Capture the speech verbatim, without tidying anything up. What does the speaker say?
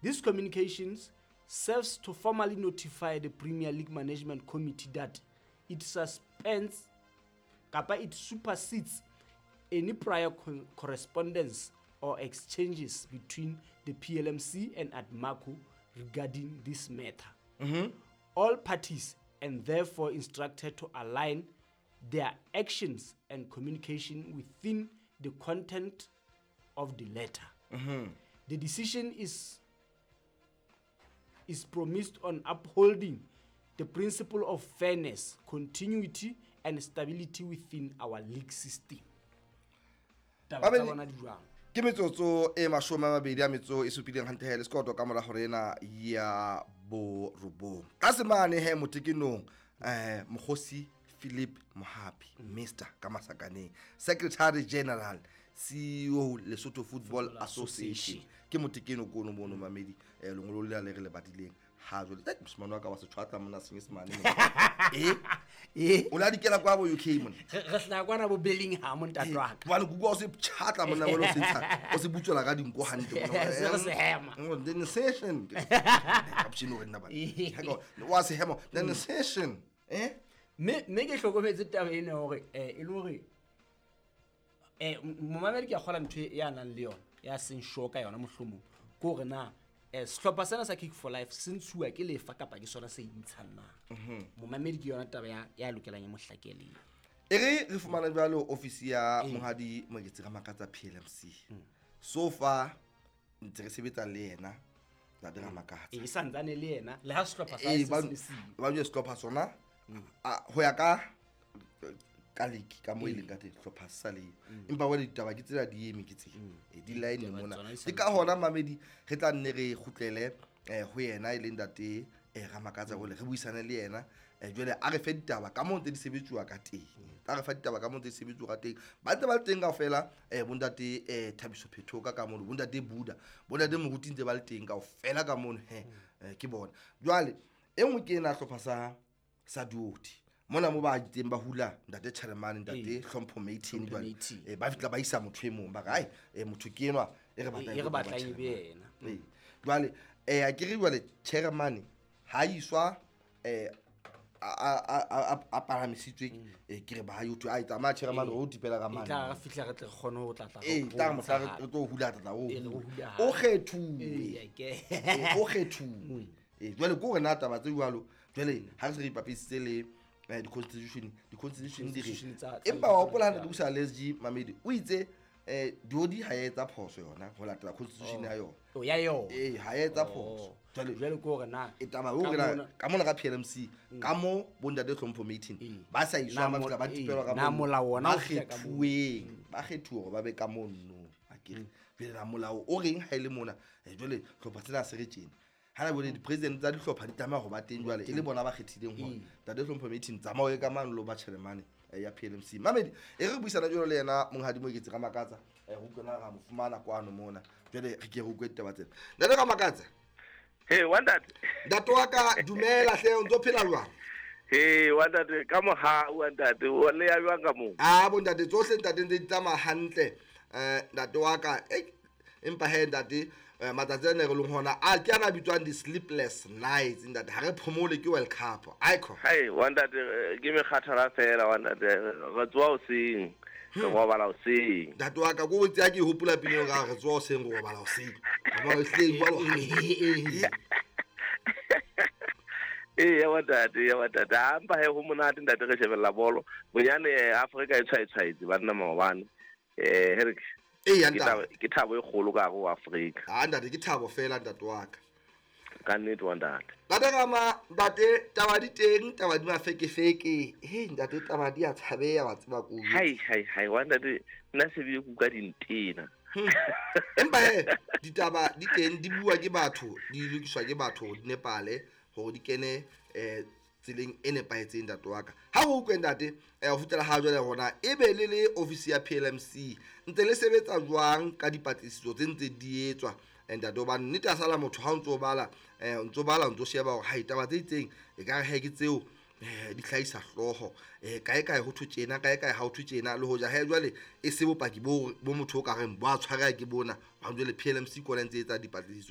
This communications serves to formally notify the Premier League Management Committee that it suspends kapa it supersedes any prior co- correspondence or exchanges between the P L M C and ADMACO regarding this matter. All parties and therefore instructed to align their actions and communication within the content of the letter. The decision is is premised on upholding the principle of fairness, continuity and stability within our league system. Taba tsa Babedi- bona di jwang? Ke metsotso e mashome a mabedi a metso e supileng hantle he le sekoto ka mora hore ena ya borobong tlase mane he motekenong um mokgosi Philip Mohapi, Mister ka masakaneng, Secretary General, C E O, Lesotho Football Football Association. Association. Ke motekeno kono mono mamedi um lengolo le le re le badileng ha jwale. Eh, mosimane wa ka wa setshwatla mona Senyesemane mona. E Eh, o la dikela kwa bo U K mona. Re re hlaha kwana bo Bellingham, ntate wa ka. Jwale kuku o se tjhatla monna wena, o se ntsha, o se butswela ka dinko hantle monna. Se re se hema. Mm, the session cappuccino re nna bana wa se hema the session eh. Mme mme ke hlokometse taba ena hore eh e le hore eh momamedi ke a kgola ntho e ya nang le yona ya seng sure ka yona, mohlomong ke hore na eh sehlopha sena sa Kick for Life se ntshuwa ke lefa kapa ke sona se intshang na. Momamedi ke yona taba ya ya lokelang e mo hlakele. E re re fumana jwalo office ya monghadi Moeketsi Ramakatsa, P L M C. So far ntse re sebetsa le yena ntate Ramakatsa. E santsane le yena le ha sehlopha sa ee hae se ba se le siyo. Ba jwe sehlopha sona a- ho ya ka ka league ka mo e leng ka teng, hlopha se sa le, empa wale ditaba ke tsela di eme ke tse e di line Ditaba mona. Tsona di Ke ka hona mamedi re tla nne re kgutlele eh ho yena e leng ntate eh Ramakatsa hole re buisane le yena eh jwale a re fe ditaba ka moo ntse di sebetsuwa ka teng, a re fa ditaba ka moo ntse di sebetsuwa ka teng. Ba ntse ba le teng kaofela eh bontate eh Thabiso Phethoka ka mono, bontate Buda, bontate Moruti ntse ba le teng kaofela ka mono he eh, ke bona jwale e nngwe ke ena hlopha sa sa duoti mona mo ba teng ba hula ntate Chairman, ntate Hlompho Matin. Hlompho Jwale Matin. eh, ba fihla ba isa motho e mong, ba re ai eh, motho ke enwa e re batlang E re e tlo ba batlang e be chairman. yena. Ee. Jwale eh a ke re jwale chairman ha iswa eh a a a a palamisitswe eh ke re ba yo thwe ai tsamaya chairman o tipela ka E mane. tla re fihla re tle re kgone ho tla tla Ee, tla re mohla re re tlo hula tla o Ee, re hula. hula hape. O kgethuwe. Ee, ke Ee, o kgethuwe ee jwale ke hore na taba tse jwalo jwale ha re se re ipapisitse le eh, di-constitution di-constitution di re Constitution tsa- tsa empa wa hopola ha ne tsa- ke busa le S G Mamedi o itse eh diodi ha ya etsa phoso yona ho latela constitution ya yona. O ya yona. Ee, ha ya etsa phoso jwale. Jwale ke hore na E taba o ka re na mona- ka mona ka P L M C ka mo bontate Hlompho Matin Ee. ba sa iswa Na ba mo- fihla ba ee, tipelwa ka na mono. molao ona Ba o fihla ka moo. kgethuweng ba kgethuwe hore ba be ka mono akere. Jwale na molao o reng ha e le mona? Eh, jwale hlopha tsena se re tjena ha na bone di-president tsa dihlopha di tlameha ho ba teng jwale e le bona ba kgethileng hore ntate Hlompho Matin tsamao ye ka mane lo ba chairman eh, ya P L M C. Mamedi e re buisana jwalo le yena monghadi Moeketsi Ramakatsa eh, re utlwe na ra mo fumana kwano mona. Jwale re ke re utlwe ditaba tsena, ntate Ramakatsa. Hey, wantate. Ntate wa ka, dumela hle, o ntso phela jwang? Hey, wantate, ka mohau wantate, o le ya jwang ka moo? A bo ntate tsohle ntate ntse di tsamaya hantle um ntate wa ka. Ei, empa he ntate eh, matsatsi a ne re leng hona a ke ana a bitswang di-sleepless nights ntate, ha re phomole ke World Cup ico. Hai, wantate, eh, ke mekgathala fela wantate, re tsoha hoseng, re robala hoseng. Ntate wa ka, ko tse ke hopola pina eo ka re tsoha hoseng, re robala hoseng. Robala hoseng jwalo hantle. Ee, ya wantate, ya wantate. Ha mpa he ho monate ntate re shebella bolo. Bonyane eh, Afrika e tshwaetshwaetse banna maobane. Eh, he re Ee, ke ntate. thabo ke thabo e kgolo ka hare ho Afrika. Ha ntate, ke thabo fela ntate wa ka. Ka nnete wantate. Ntate Rama, ntate, taba di teng, taba di mafekefeke he ntate, taba di a tshabeya wa tseba ko. Hai hai hai wantate, nna se bile kuka dintena. Empa he ditaba di teng, di bua ke batho, di lokiswa ke batho, di nepale hore di kene eh tseleng e nepahetseng ntate wa ka. Ha re utlwe ntate eh ho fihlela ha jwale rona e be le le office ya P L M C ntse le sebetsa jwang ka dipatlisiso tse ntse di etswa eh, ntate? Hobane nnete a sala motho ha o ntso bala eh o ntso bala o ntso sheba hore hai taba tse itseng e ka re he ke tseo eh di hlahisa hlooho eh kae kae ho thwe tjena, kae kae ha ho thwe tjena, le hoja he jwale e se bopaki bo bo motho o ka reng bo a tshwareha ke bona ba jwale P L M C kona ntse e etsa dipatlisiso.